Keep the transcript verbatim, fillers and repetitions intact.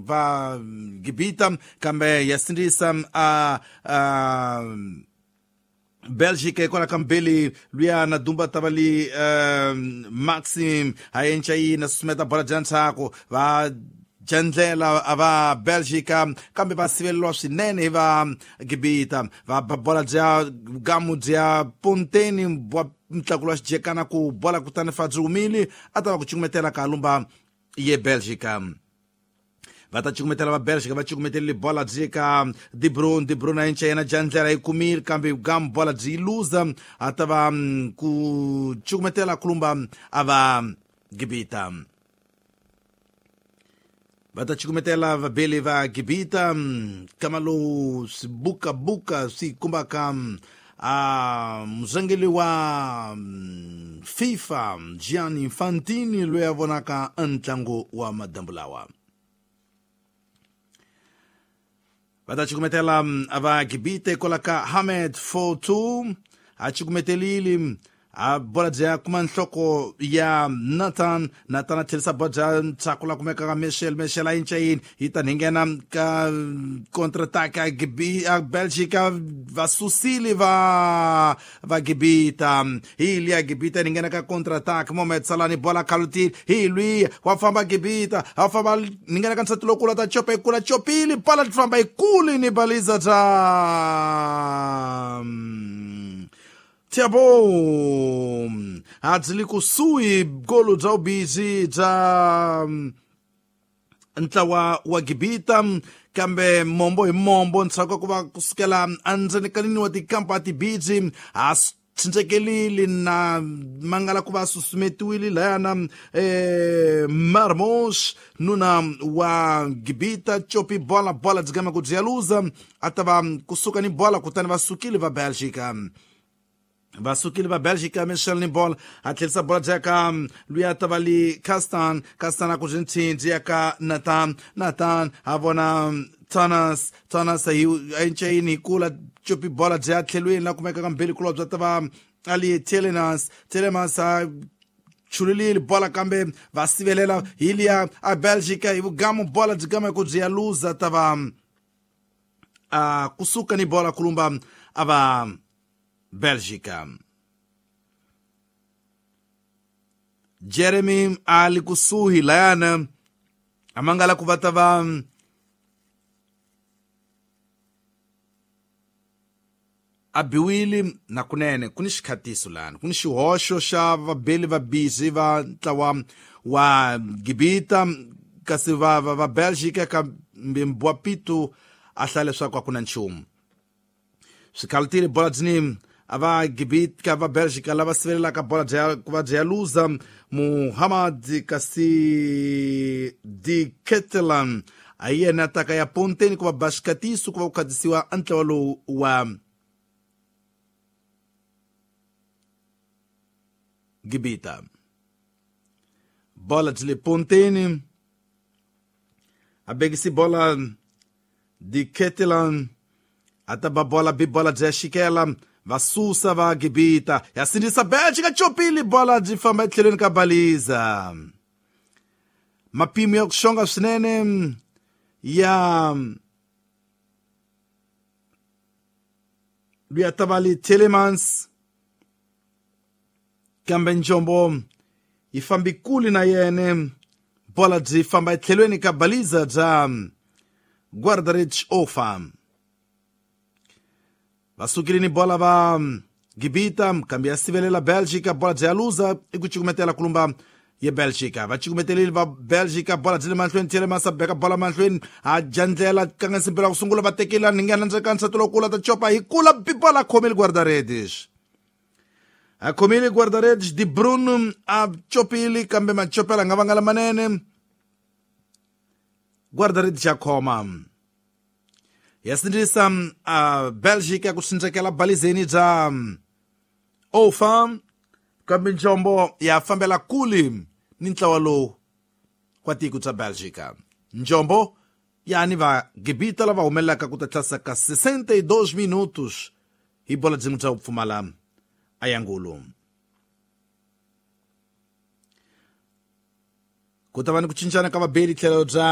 va Gibita kambe ya sindzisa a a Belgique kwala kambeli luya na dumba tavali um, Maxim a yi na susumeta bola bya ntshaku va jandlela va Belgica kambe va siveleriwa swinene hi va Gibita va bola bya gamu bya Ponteni bwa mtlakulo wa xijekana ku bola kutani fa byi humile a ta va ku cukumetela ka lumba ye Belgica va ta cukumetela va Belgica va cukumetelile bola byi ka De Bruyne De Bruyne a yinca yena jandlela yi kumile kambe gamu bola byi yi luza a ta va ku cukumetela kulumba a va Gibita va ta cukumetela vabeli va Gibita kama lowu swibukabuka swi kumbaka a muzangeli wa FIFA Gianni Infantino loyi a vonaka ntlangu wa madambu lawa va ta cukumetela va Gibita kwala ka Hamed Fotu a cukumetelile a bola bya kuma nhloko ya Nathan Nathan a tlherisa bola bya ntshaku la kumeka ka Michel Michel a yinca yini yi ta nghena ka contre-attaque a Gibi a Belgica va susile va va Gibita hi liya Gibita ni nghena ka contre-attaque Mohamed Salah ni bola kalutile hi lwiya wa famba Gibita wa famba ni nghena ka nsati lokula ta chopa ikula chopile bola li famba ikuli ni baliza ta Thiago a byi le kusuhi golo bya vubizi bya ntlawa wa Gibita kambe mombo hi mombo ntshaku ku va kusukela endzeni ka nini wa tikampa tibiji a cincekelile na mangala ku va susumetiwile layana eh, Marmos nuna wa Gibita chopi bola bola dzigama ku byi luza a ta va kusuka ni bola kutani va sukile va Belgica va sukile va Belgica Michel ni bola a tlherisa bola bya ka luya tavali Castan Castan a ku byi ntshindzi ya ka Nathan Nathan a vona Thomas Thomas hi a yinca yini hi kula chopi bola bya tlhelweni la kumeka ka mbeli kulwa bya tava ali Telemans Telemans a chulilile bola kambe va sivelela hi liya a Belgica hi vugamu bola byi gama ku byi ya luza tava a kusuka ni bola kulumba a va Belgica Jeremy ali kusuhi layana amangala ku va ta va a biwile na kunene ku ni xikhatiso lana ku ni xihoxo xa vabeli va bizi va ntlawa wa Gibita kasi va va, va Belgica kambe Mbwapitu a hlaya leswaku a ku na nchumu swikhalutile bola dzini a va Gibita va Belgica lava sivelelaka bola bya ku va bya luza Muhammad kasi Di Ketelan a yena taka ya Ponteni ku va ba xikatiso ku va ku khatisiwa ntlawa lowu wa Gibita bola byi le Ponteni a bekisi bola Di Ketelan a ta ba bola bi bola bya xikela va susa va Gibita ya sindzisa Belgica chopile bola byi famba etlhelweni ka baliza mapimo ya ku xonga swinene ya luya tavali Telemans kambe njombo yi fambi kule na yene bola byi famba etlhelweni ka baliza bya Guardarich Ofa va sukile ni bola va Gibita kambe ya sivelela Belgica bola bya luza i ku cukumetela kulumba ye Belgica va cukumetelile va Belgica bola byi le mahlweni Telemans a beka bola mahlweni a jandlela kanga ku sungula va tekela ni nghena ndzeni ka nsati lokula ta chopa hi kula bola khomile guarda-redes a khomile guarda-redes De Bruyne a chopile kambe machopela nga vanga lamanene guarda-redes ya khoma ya sindzisa a Belgica ku cindzekela balizeni bya Ofa kambe njombo ya fambela kule ni ntlawa lowu kwa tiko bya Belgica njombo yani va Gibita lava humelelaka ku ta tlasa ka sessenta e dois minutos hi bola byin'we bya ku pfumala ayangulu ku ta va ni ku cincana ka vabeli tlhelo bya